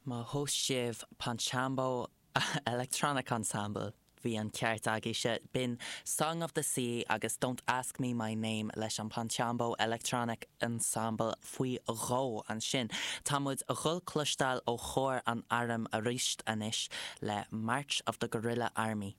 Má thomhais sibh Panchambo Electronic Ensemble, bhí an ceart agaibhse. B'in Song of the Sea agus Don't Ask Me My Name leis an Panchambo Electronic Ensemble faoi dhó ansin. Tá muid a dhul cloisteáil ó chór an airm aríst anois le March of the Guerrilla Army.